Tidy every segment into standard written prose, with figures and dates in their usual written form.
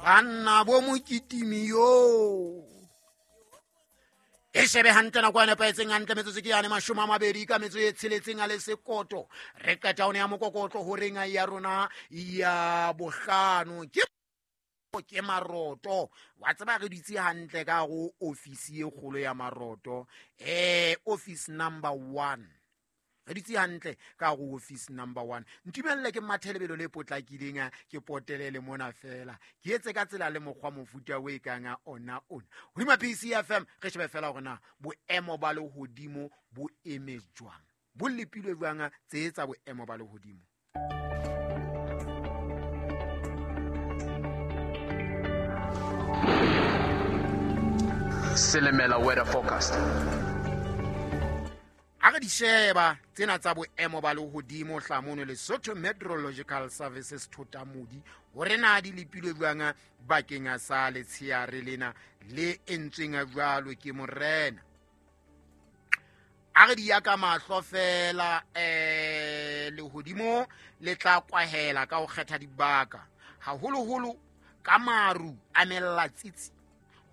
Banna bo mokitimi yo e shebe hantle nako ya nepahetseng hantle metsotso ke yane 20 ka metso e tsheletseng a le sekoto. Re qeta one ya mokokotlo horeng ya rona ya bohlano ke maroto. Wa tseba re ditse hantle ka go ofisi e kgolo ya maroto, office number 1. Re ditse hantle ka go office number 1. Ntumelle ke mathelebelo le potlakileng, ke potelele mona fela, ke etse ka tsela le mokgwa mofuta o e kang ona ona. Hodima PCFM re shebe fela hore na boemo ba lehodimo bo eme jwang, bo lepilwe jwang tse tsa boemo ba lehodimo. Silimela weather forecast. Ha re di sheba tsena tsa boemo ba lehodimo hlamono Lesotho Meteorological Services Thotamodi, hore na di lepilwe jwang bakeng sa letsheare lena le entsweng jwalo ke morena. A re di ya ka mahlo fela, lehodimo le tla kwahela ka ho kgetha dibaka, haholoholo ka maru a melatsitsi,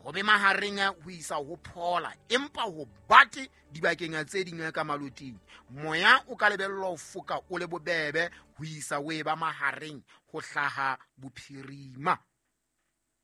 ho be mahareng ho isa ho phola, empa ho bate dibakeng tse ding ka maloting. Moya o ka lebellwa ho foka o le bobebe ho isa o e ba mahareng ho hlaha bophirima.